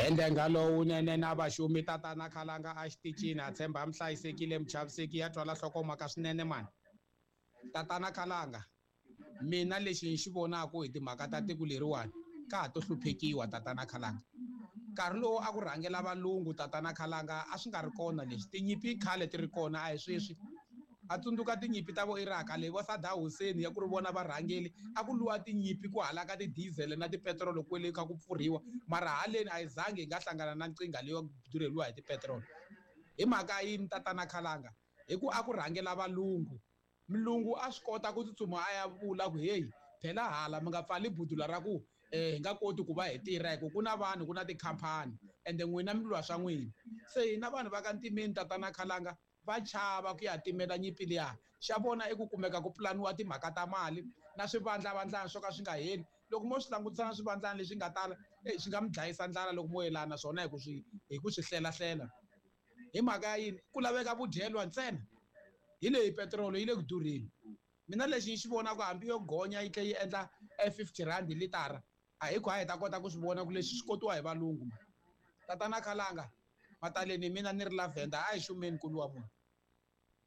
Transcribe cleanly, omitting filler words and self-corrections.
Ende lowunene na vaxumi tatana Khalanga a xitichini ha tshemba mi hlayisekile muchaviseki ya twala nhlokomhaka swinene mani. Tatana Khalanga mina lexi ni xi vonaku hi timhaka ta tiko leriwani ka ha to hluphekiwa tatana Khalanga. Nkarhi lowu a ku rhangela valungu tatana Khalanga a swi nga ri kona leswi tinyimpi khale ti ri kona a hi sweswi. A tsundzuka tinyimpi ta vo Iraq leyi vo Saddam Hussein ya ku ri vona varhangeli a ku lwiwa tinyimpi ku halaka ti-diesel na tipetirolo kwele kha ku pfurhiwa mara haleni a hi zangi hi nga hlangana na nkingha leyo durheliwa hi tipetirolo. Hi mhaka yini tatana Khalanga? Hi ku a ku rhangela valungu. Mulungu a swi kota ku tsutsuma a ya vula ku heyi phela hala mi nga pfali budula ra ku hi nga koti ku va hi tirha hi ku ku na vanhu ku na tikhampani ende n'wina mi lwa swa n'wina. Se hina vanhu va ka ntimeni tatana Khalanga va chava ku ya timela nyimpi liya xa vona i ku kumeka ku pulaniwa timhaka ta mali na swivandlavandlana swo ka swi nga heli. Loko mo swi langutisa na swivandlana leswi nga tala swi nga mi dlayisa ndlala loko mo yelana na swona hi ku swi hlelahlela. Hi mhaka ya yini? Ku laveka vudyelwa ntsena. Hi leyi petirolo yi le ku durheni. Mina lexi ni xi vonaka hambi yo gonya yi tlhe yi endla 50 rand litara a hi ku a hi ta kota ku swi vona ku leswi swi kotiwa hi valungu. Tatana Khalanga mataleni mina ni ri Lavender a hi xumeni kulu wa munhu.